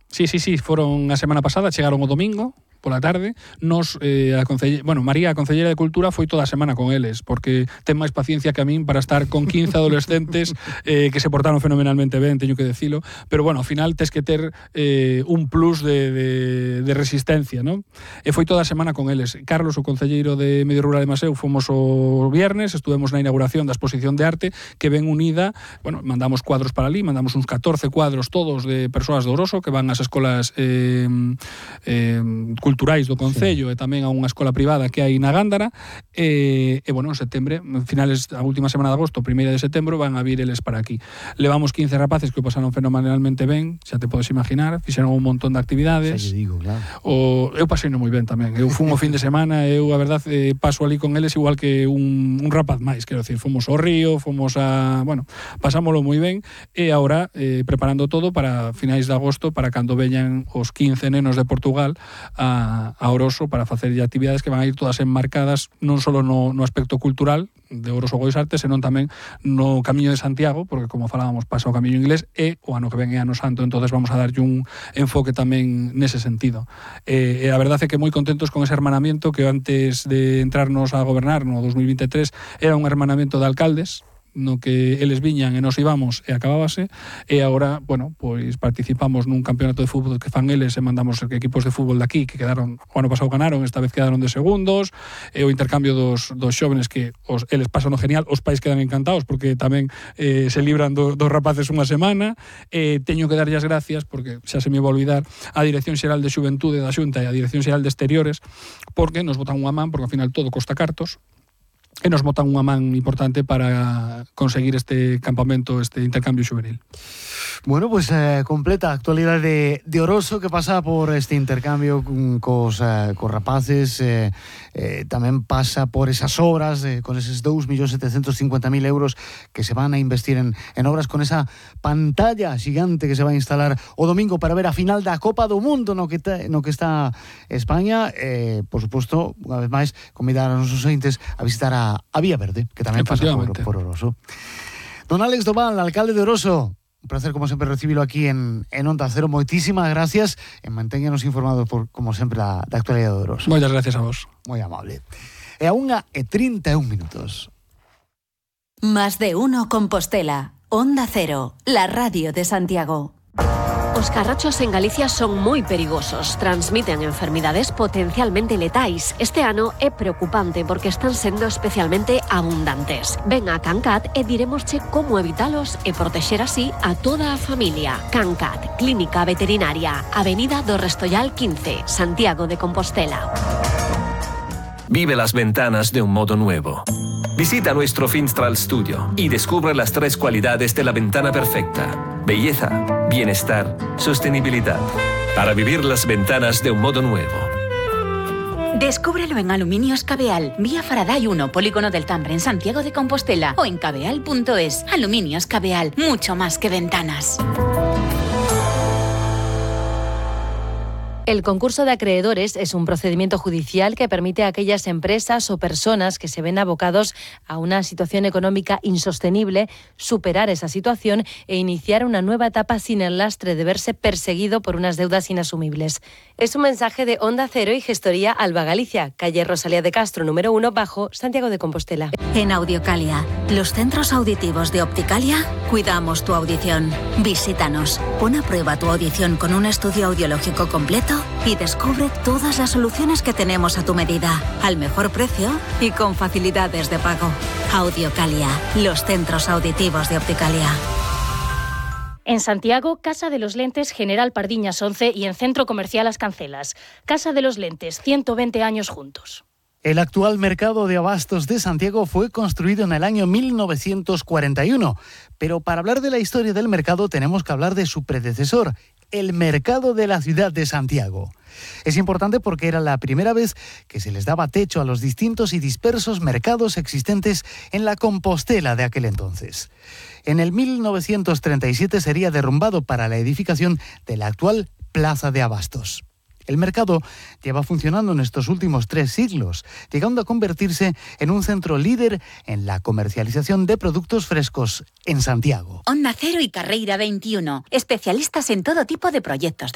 Sí, foron a semana pasada, chegaron o domingo pola tarde. Nos, María, a concelleira de Cultura, foi toda a semana con eles, porque ten máis paciencia que a min para estar con 15 adolescentes que se portaron fenomenalmente ben, teño que decilo, pero bueno, ao final tes que ter un plus de resistencia, non? E foi toda a semana con eles. Carlos, o concelleiro de Medio Rural de Maseu, fomos o viernes, estuvemos na inauguración da exposición de arte que ven unida, bueno, mandamos cuadros para ali, mandamos uns 14 cuadros todos de persoas de Oroso que van ás escolas culturais do concello, e tamén a unha escola privada que hai na Gándara, e bueno, en setembro, finales a última semana de agosto, 1ª de setembro, van a vir eles para aquí. Levamos 15 rapaces que o pasaron fenomenalmente ben, xa te podes imaginar, fixeron un montón de actividades. Xa lle digo, claro. Eu pasei moi ben tamén. Eu fui un fin de semana, eu a verdade paso ali con eles igual que un rapaz máis, quero decir, fomos ao río, fomos pasámoslo moi ben, e agora preparando todo para finais de agosto, para cando veñan os 15 nenos de Portugal a Oroso para facer actividades que van a ir todas enmarcadas non só no aspecto cultural de Oroso Gois Artes, senón tamén no Camiño de Santiago, porque como falábamos pasa o Camiño Inglés, e o ano que ven é Ano Santo, entonces vamos a darlle un enfoque tamén nese sentido. E a verdade é que moi contentos con ese hermanamiento que antes de entrarnos a gobernar no 2023 era un hermanamiento de alcaldes, no que eles viñan e nos íbamos e acabábase, e agora, bueno, pois participamos nun campeonato de fútbol que fan eles e mandamos equipos de fútbol de aquí que quedaron, o ano pasado ganaron, esta vez quedaron de segundos, e o intercambio dos xóvenes que eles pasan o genial, os pais quedan encantados porque tamén se libran dos rapaces unha semana. Teño que darlle as gracias, porque xa se me va a olvidar, a Dirección Xeral de Xuventude da Xunta e a Dirección Xeral de Exteriores, porque nos botan unha man, porque ao final todo costa cartos, e nos botan unha man importante para conseguir este campamento, este intercambio xuvenil. Bueno, pues completa a actualidade de Oroso que pasa por este intercambio cos rapaces, tamén pasa por esas obras, con eses 2.750.000 euros que se van a investir en obras, con esa pantalla xigante que se va a instalar o domingo para ver a final da Copa do Mundo no que está España. Por suposto, unha vez máis, convidar a nosos ointes a visitar a Vía Verde, que tamén pasa por Oroso. Don Álex Doval, alcalde de Oroso, un placer, como sempre, recibilo aquí en Onda Cero. Moitísimas gracias e mantéñanos informados, como sempre, da actualidade de Oroso. Moitas gracias a vos. Moi amable. E a 1:31 minutos. Más de uno Compostela. Onda Cero, la radio de Santiago. Os carrachos en Galicia son moi perigosos, transmiten enfermidades potencialmente letais. Este ano é preocupante porque están sendo especialmente abundantes. Ven a Cancat e diremosche como evitalos e protexer así a toda a familia. Cancat, Clínica Veterinaria, Avenida do Restollal 15, Santiago de Compostela. Vive las ventanas de un modo nuevo. Visita nuestro Finstral Studio y descubre las 3 cualidades de la ventana perfecta: belleza, bienestar, sostenibilidad. Para vivir las ventanas de un modo nuevo. Descúbrelo en Aluminios Cabeal, vía Faraday 1, Polígono del Tambre, en Santiago de Compostela, o en cabeal.es. Aluminios Cabeal, mucho más que ventanas. El concurso de acreedores es un procedimiento judicial que permite a aquellas empresas o personas que se ven abocados a una situación económica insostenible superar esa situación e iniciar una nueva etapa sin el lastre de verse perseguido por unas deudas inasumibles. Es un mensaje de Onda Cero y Gestoría Alba Galicia, calle Rosalía de Castro, número 1, bajo, Santiago de Compostela. En Audiocalia, los centros auditivos de Opticalia, cuidamos tu audición. Visítanos, pon a prueba tu audición con un estudio audiológico completo y descubre todas las soluciones que tenemos a tu medida, al mejor precio y con facilidades de pago. Audiocalia, los centros auditivos de Opticalia. En Santiago, Casa de los Lentes General Pardiñas 11 y en Centro Comercial Las Cancelas. Casa de los Lentes, 120 años juntos. El actual mercado de abastos de Santiago fue construido en el año 1941, pero para hablar de la historia del mercado tenemos que hablar de su predecesor, el mercado de la ciudad de Santiago. Es importante porque era la primera vez que se les daba techo a los distintos y dispersos mercados existentes en la Compostela de aquel entonces. En el 1937 sería derrumbado para la edificación de la actual Plaza de Abastos. El mercado lleva funcionando en estos últimos 3 siglos, llegando a convertirse en un centro líder en la comercialización de productos frescos en Santiago. Onda Cero y Carreira 21, especialistas en todo tipo de proyectos de